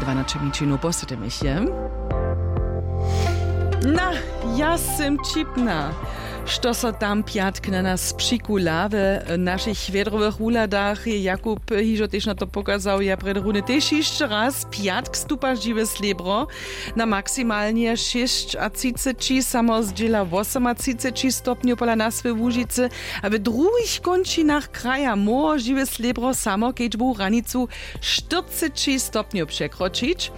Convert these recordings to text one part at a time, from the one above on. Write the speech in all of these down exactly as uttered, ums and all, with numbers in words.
Dwanaće minut po sydomich je. Na, ja sym ćipna, što so tam pjatk na nas přikula we našich wjedrowych wuhladach, je Jakub hižo tež na to pokazał. Ja prjedy runje tež hišće raz: pjatk stupa žiwe slěbro na maksimalnje šěsćatřiceći, samo zdźěla wosomatřiceći stopnjow pola nas we Łužicy, a w druhich kónčinach kraja móhło žiwe slěbro samo kedźbowu hranicu štyrceći stopnjow překročić.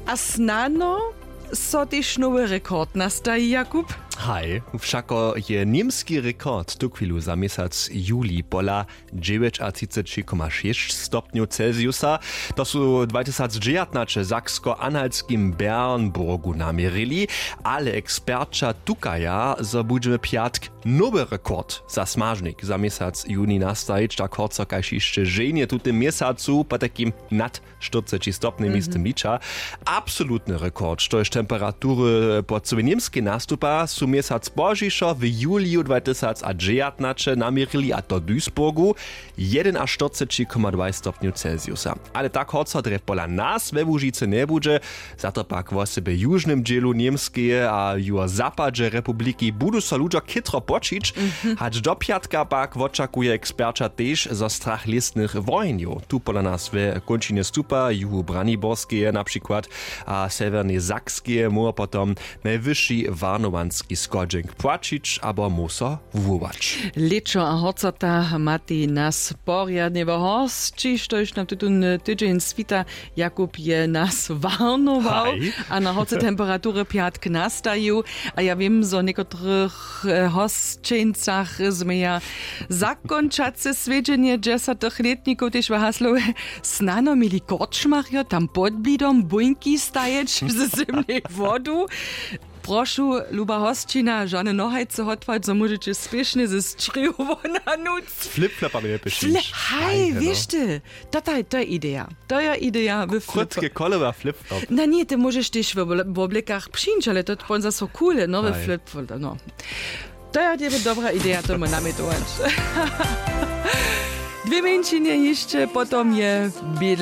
A snano so tež nowy rekord nastaji, Jakub? Haj, wšako je němski rekord tuchwilu za měsac juli pola dźewjećatřiceći koma šěsć stopnjow Celsiusa. To su dwatysacdźewjatnaće w saksko-anhaltskim Bernburgu naměrili, ale eksperća tukaja, zo budźemy pjatk nowy rekord za smažnik za měsac juni nastajić, tak horco kaž hišće ženje w tutym měsacu, potajkim nad štyrceći stopnjemi z tym liča. Absolutny rekord, štož temperatury po cyłej Němskej nastupa, su měsac pozdźišo w juliju dwatysacdźewjatnaće naměrili, a to w Duisburgu, jedynaštyrceći koma dwaj stopnjow Celsiusa. Ale tak horco drje pola nas we Łužicy njebudźe, za to pak wosebje w južnym dźělu Němskeje a juhozapadźe republiki budu so ludźo chětro poćić. Hač do pjatka pak wočakuje eksperća tež, zo strach lěsnych wohenjow tu pola nas we kónčinje stupa, juhu Braniborskeje na přikład a sewjernej Sakskeje móhło potom najwyši warnowanski schodźenk płaćić abo móhł so wuwołać. Lěćo a horcota matej nas porjadnje we horsći, štož nam tutón tydźeń swita. Jakub je nas warnował a na horce temperatury pjatk nastajił. A ja wěm, zo w někotrych e, hosćeńcach změja zakónčace swjedźenje dźesatych lětnikow tež w haslowje: snano měli korčmarjo tam pod blidom bóńki stajeć ze zymnej wodu. Prošu, luba hosćina, žane nohajce hotwać, zo móžeće spěšnje ze sćrějow wonanuć. Flipflopami je pišić. Haj, wěš ty, to je ideja. To je ideja w flip. Krótke kolowa flipflop. Na ně, ty móžeš tež w oblekach přińć, ale to pon zaso coole, no, we flipflop, no. To je tebi dobra ideja, to mój namjetować. Dwě mjeńšinje hišće potom je.